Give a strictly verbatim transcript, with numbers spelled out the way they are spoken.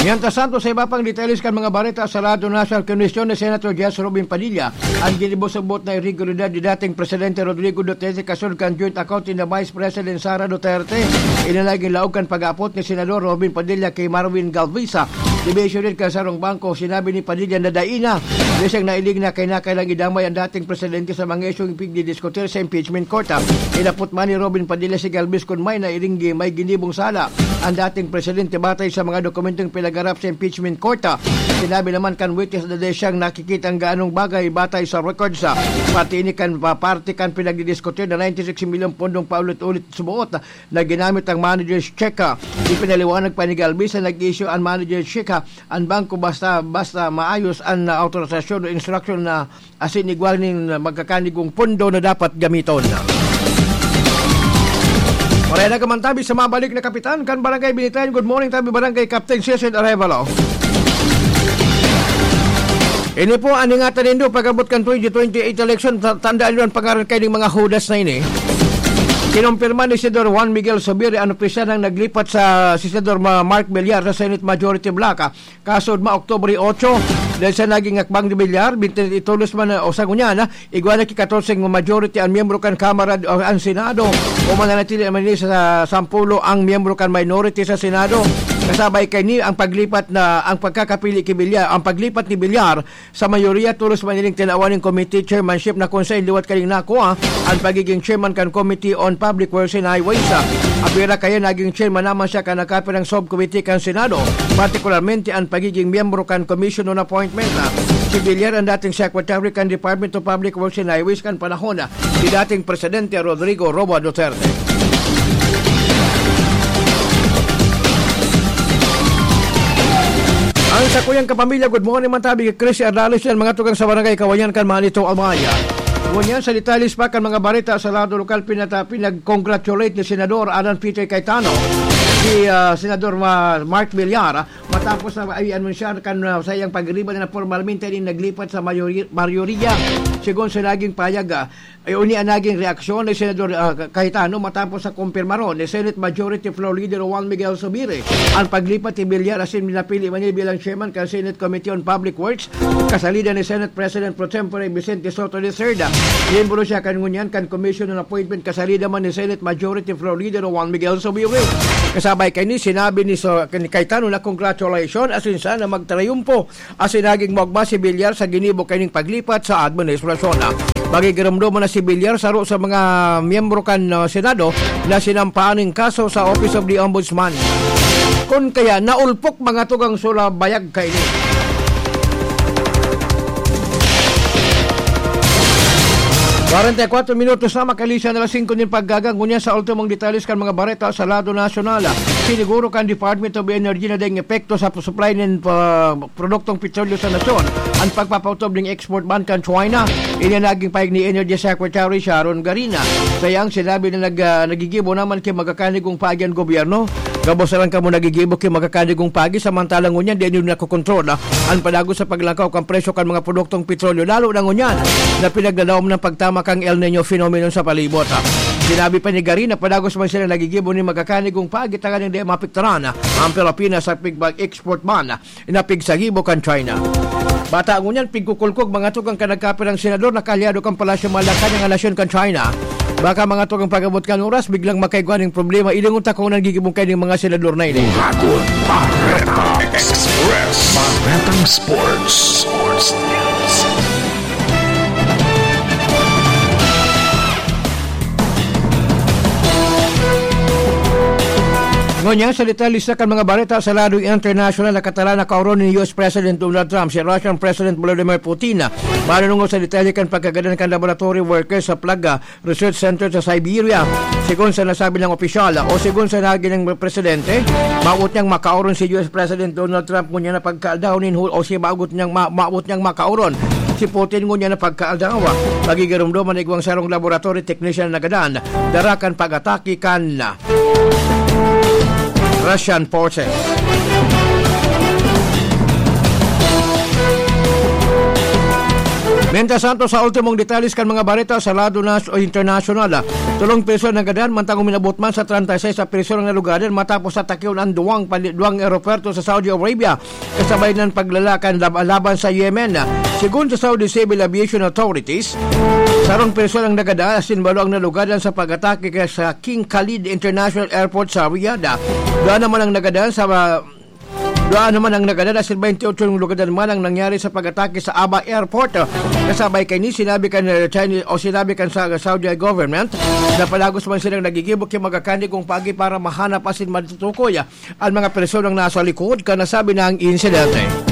Mientras tanto, sa iba pang detalles kan mga bareta sa Radyo National, kinuwestiyon ni Senator Jess Robin Padilla ang ginibusubot na irregularidad ni dating Presidente Rodrigo Duterte kasunod kan joint account ni Vice President Sara Duterte. Ini nagin laog kan pag-aapot ni Senador Robin Padilla kay Marvin Galvisa, division head kan sarong bangko. Sinabi ni Padilla na dai na, dai siyang nailing na kinakailang idamay ang dating presidente sa mga isyung pigdidiskutir sa impeachment court. Inapot man ni Robin Padilla si Galvez kun may nailing, may ginibong sala ang dating presidente batay sa mga dokumentong pinagarap sa impeachment court. Sinabi naman kan witness na dai siyang nakikita ang gaanong bagay batay sa records. Pati ini kan pa-, parte kan pinagdidiskutir na ninety-six milyon pondong paulit-ulit subuot na ginamit ang manager's check. Ipinaliwanag pa ni Galvez na nag-issue ang manager's check, ang bangko basta, basta maayos ang autorisasyon o instruction na asin igwa nin magkakanigong pondo na dapat gamiton. Pareha na ka man tabi sa mabalik na kapitan kan Barangay Binitayan. Good morning tabi, Barangay Captain Cecil Arevalo. Ini po ang ingatan nindo pag-abot kan twenty twenty-eight election. Ta-, tandaan niyo ang pangaran kayo ng mga hudas na ini. Kinumpirma ni Senador Juan Miguel Zubiri ang opisyal nang naglipat sa si Senador Ma-, Mark Villar sa Senate Majority Bloc. Kasod ma Oktubre otso, dahil sa naging hakbang ni Villar, bintin itolos man, o sa ngunyan, igwa na ki katorse majority ang miyembro kan Kamara o ang Senado, o mananatili man ni sa sampulo ang miyembro kan minority sa Senado. Kasabay kaini ang paglipat na, ang pagkakapili ki Villar, ang paglipat ni Villar sa mayoriya, tolos man ining tinawan ning committee chairmanship na kung sain liwat kaning nakuha ang pagiging chairman kan Committee on Public Works and Highways. Apira kaya naging chairman naman siya kan nakapirang subcommittee kan Senado, partikularmente ang pagiging miyembro kan Commission on Appointment. Si Villar ang dating secretary kan Department of Public Works and Highways kan panahon ni dating Presidente Rodrigo Roa Duterte. Ang sakuyang kapamilya, good morning man tabi kay Chris Ardales yan, mga tugang sa Barangay Kawayan kan Manito, Albaya. Ngunyan sa detalles pa kan mga bareta sa lado lokal, pinata-, pinag-congratulate ni Senador Alan Peter Cayetano si, ah, Senador Ma-, Mark Villar, ah, matapos na i-anunsiyar kan, ah, sa iyang pagriba na pormalmente nin naglipat sa mayori-, mayorya, sigon sa naging payag, ah, ay uni ang naging reaksyon ni Senador, ah, Cayetano matapos sa kumpirmaron ni Senate Majority Floor Leader Juan Miguel Zubiri ang paglipat ni Villar asin minapili man niya bilang chairman kan Senate Committee on Public Works, kasalida ni Senate President Pro Tempore Vicente Sotto the third. Miyembro siya kan ngunyan kan Commission on Appointment, kasalida man ni Senate Majority Floor Leader Juan Miguel Zubiri. Kasabay kaini, sinabi ni So-, ni Cayetano na congratulations asin sana magtrayumpo asin naging magma si Villar sa ginibo kaining paglipat sa administrasyon. Magigiromdoman na si Villar, saro sa mga miyembro kan, ah, Senado na sinampaan ning kaso sa Office of the Ombudsman. Kun kaya naulpok mga tugang sula bayag kaini. Kwarenta y kuwatro minutos na makalisan na alas singko nin paggaga, ngunyan sa ultimong detalles kan mga bareta sa lado nasyonal. Siniguro kan Department of Energy na daing epekto sa supply nin, ah, produktong petrolyo sa nasyon an pagpapautob nin export ban kan China. Ini an naging pahayag ni Energy Secretary Sharon Garina. Sa iyang sinabi na nag-, ah, nagigibo naman ki magkakanigong paagi an gobyerno. Gabos na lang kamo nagigibo ki magkakanigong paagi, samantalang ngunyan dai nindo nakokontrol, ah, an padagos sa paglakaw kan presyo kan mga produktong petrolyo, lalo na ngunyan na pinagdadaom nin pagtama kan El Niño phenomenon sa palibot, ah. Sinabi pa ni Garina, padagos man sila nagigibo nin magkakanigong paagi tanganing dai maapektaran, ah, an Pilipinas sa pig-, pag-export ban na pigsagibo kan China. Bata ngunyan, pigkukulkog mga tugang kan nagkapirang senador na kaalyado kan Palasyo Malacañang nasyon kan China. Baka mga tugang pag-abot kan oras, biglang makaigwa ning problema. Ilingon ta kung nagigibong kayo ning mga senador na ini. Buhaton Bareta Express. Baretang Sports. Sports News. Ngunyan, sa detalye sa kan mga bareta sa lado internasyonal, nakatalan na kaoron ni U S President Donald Trump si Russian President Vladimir Putin. Manunungod sa detalye kan pagkagadan kan laboratory workers sa Plaga Research Center sa Siberia. Sigon sa nasabi ng opisyal, o sigon sa nagin ng presidente, mawot niyang makaoron si U S President Donald Trump ngunyan na pagkaaldaw nin hu-, o si mawot niyang ma-, mawot niyang makaoron si Putin ngunyan na pagkaaldaw. Magigiromdoman na igwang sarong laboratory technician na gadan, dara kan pag-atake kan Russian forces. Mientras tanto, sa ultimong detalles kan mga bareta sa lado nas o internasyonal, ah, tolong persona nagadan, mantang uminabot man sa treinta y seis na persona ang nalugadan matapos atakion ang duwang pali-, duwang eroporto sa Saudi Arabia, kasabay ng paglala kan lab-, laban sa Yemen. Segun sa Saudi Civil Aviation Authorities, sarong persona ang nagadan, asin balo ang nalugadan sa pag-atake kaya sa King Khalid International Airport sa Riyadh. Duwa naman ang nagadan sa, ah, duwa naman ang nagadan, asin twenty-eight yung lugadan man ang nangyari sa pag-atake sa Aba Airport. Kasabay kaini, sinabi kan, eh, Chinese, o sinabi kan sa Saudi government na palagos man silang nagigibo ki magakani kung pagi para mahanap asin matutukoy ang mga personang nasa likod kan nasabi na ang insidente.